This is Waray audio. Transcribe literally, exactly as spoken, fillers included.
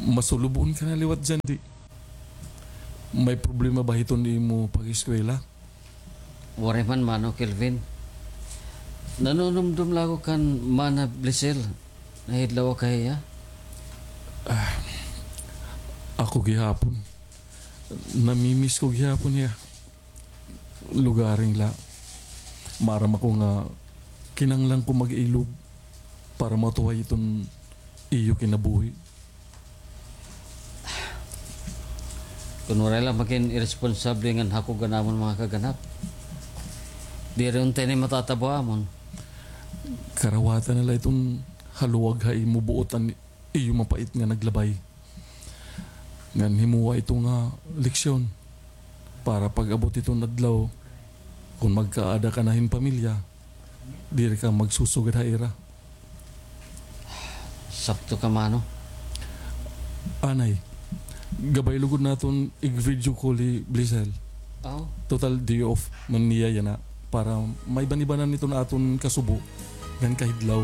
Masulubon ka na liwat, Jandy. May problema ba hiton imo pag-eskwela? Waray man, Mano Kelvin. Nanunumdom la ako kan Mana Blisel. Nahidlaw ka hiya? Ah, ako gihapon. Namimiss ko gihapon hiya. Lugaring la. Maaram ako nga kinahanglan ko mag-ilog para matuhay iton iyo kinabuhi. Kun waray la magin iresponsable ngan hakog an amon mga kaganap, diri unta ini matatabo ha amon. Karawatan na la iton haluag ha imo buot an iyo mapait nga naglabay. Ngan himoa ito nga leksyon para pag-abot iton adlaw, kun magkaada ka na hin pamilya, diri ka magsusugad ha ira. Sakto ka, Mano. Anay, gabay lugod naton ig-video call hi Blisel. Aw. Total day off man niya yana para maiban-ibanan iton aton kasubo ngan kahidlaw.